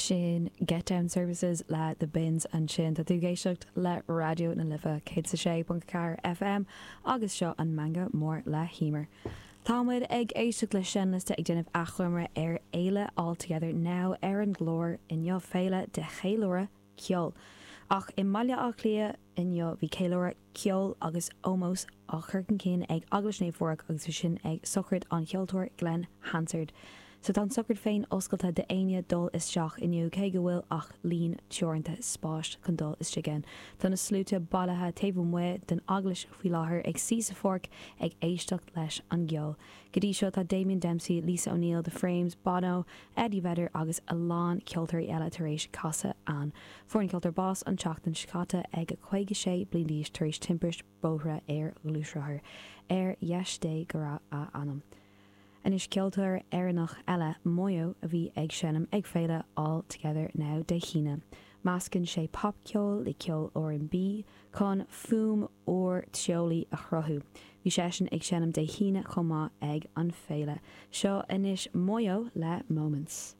Sin Get Down Services le The Bends ansin. Tá tú ag éisteacht le Raidió na Life 106.4 FM agus seo an Meangadh Mór le hEmer. Tá muid ag éisteacht le seinnliosta ag déanamh achoimre ar fhéile All Together Now ar an gclár inniu, féile de cheiliúradh ceoil. Ach i mBaile Átha Cliath inniu bhí ceiliúradh ceoil agus ómós á chur chun cinn ag Eaglais Naomh Phádraig agus bhí sin ag sochraid an cheoltóir Glen Hansard. So tá an sochraid féin oscailte d'éinne dul isteach inniu cé go bhfuil ach líon teoranta spáis chun dul istigh ann. Tá na sluaite bailithe taobh amuigh den eaglais faoi láthair ag suí sa pháirc ag éisteacht leis an gceol. Go dtí seo tá Damien Dempsey, Lisa O'Neill, The Frames, Bono, Eddie Vedder agus a lán ceoltóirí eile tar éis casadh ann. Fuair an ceoltóir bás an tseachtain seo caite ag 56 bliain d'aois tar éis timpist bóthair ar ghluaisrothar. Ar dheis Dé go raibh a anam. Anois ceoltóir Éireannach eile, Moyo, a bhí ag seinm ag féile All Together Now Dé hAoine. Meascann sé popcheol le ceol R&B chun fuaim úr teolaí a chruthú. Bhí seisean ag seinm Dé hAoine chomh maith ag an féile. Seo anois Moyo le Moments.